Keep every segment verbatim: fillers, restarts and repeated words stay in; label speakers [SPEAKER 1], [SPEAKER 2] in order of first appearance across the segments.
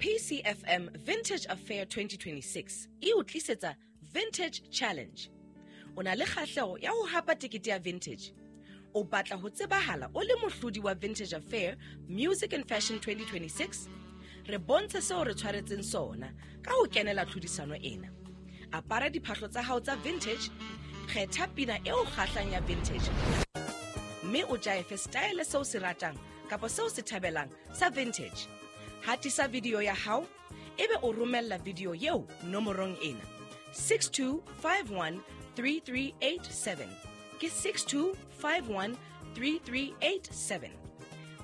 [SPEAKER 1] P C F M Vintage Affair twenty twenty-six e o tlisetsa Vintage Challenge. O na le kgahleho ya ho hapa tekete ya Vintage? O batla ho tsebahala o le mohlodi wa Vintage Affair Music and Fashion twenty twenty-six? Re bontshe seo re tshwaretseng sona ka ho kenela tlhodisano ena. Apara diphahlo tsa hao tsa vintage, kgetha pina e o kgahlang ya vintage, mme o jaefe style seo se ratang kapa seo se thabelang sa vintage. Hatisa video ya hao, ebe o romella video eo nomorong ena: six two five one three three eight seven. Ke six two five one three three eight seven.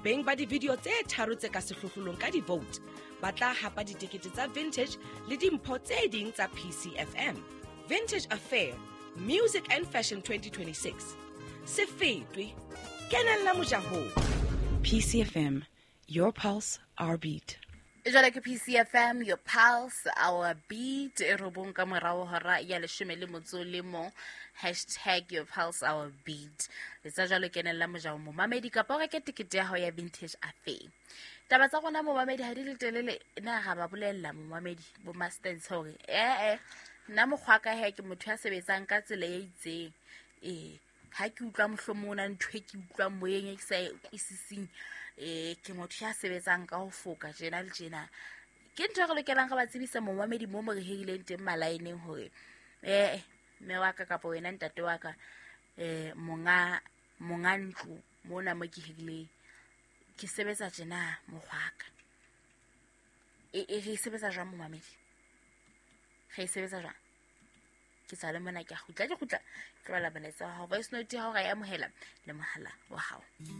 [SPEAKER 1] Beng ba di-video tse tharo tse ka sehlohlolong ka di-vote ba tla hapa ditekete tsa Vintage le dimpho tse ding tsa P C F M. Vintage Affair Music and Fashion twenty twenty-six, se fetwe, kenella mojahong.
[SPEAKER 2] P C F M, your pulse, our beat.
[SPEAKER 3] Jwale ke P C F M, your pulse, our beat. E robong ka morao hora ya leshome le motso le mong. Hashtag your pulse, our beat. Letsa jwalo, kenella mojao, momamedi, kapa o reke tekete ya hao ya Vintage Affair. Taba tsa rona, momamedi, ha di le telele. Na ga ba bolella, momamedi, bo mastens hore ee, nna mokgwa ka he ke motho ya sebetsang ka tsela e itseng. Ee, ha ke utlwa mohlomong o na ntho e ke utlwang moyeng e ke sa e utlwisising, um ke motho ya sebetsang ka ho foka tjena le tjena. Ke ntho e re lokelang re ba tsebisa, momamedi, mo mo re hirileng teng malaeneng hore ee, mme wa ka kapa wena ntate wa ka, um monga monga ntlo mona mo ke hirileng, ke sebetsa tjena mokgwaka. E e re e sebetsa jwang, momamedi? Re e sebetsa jwang? Ke tsale mona, ke a kgutla, ke kgutla ke bala molaetsa wa hao, voice note ya hao ra e amohela le mohala wa hao.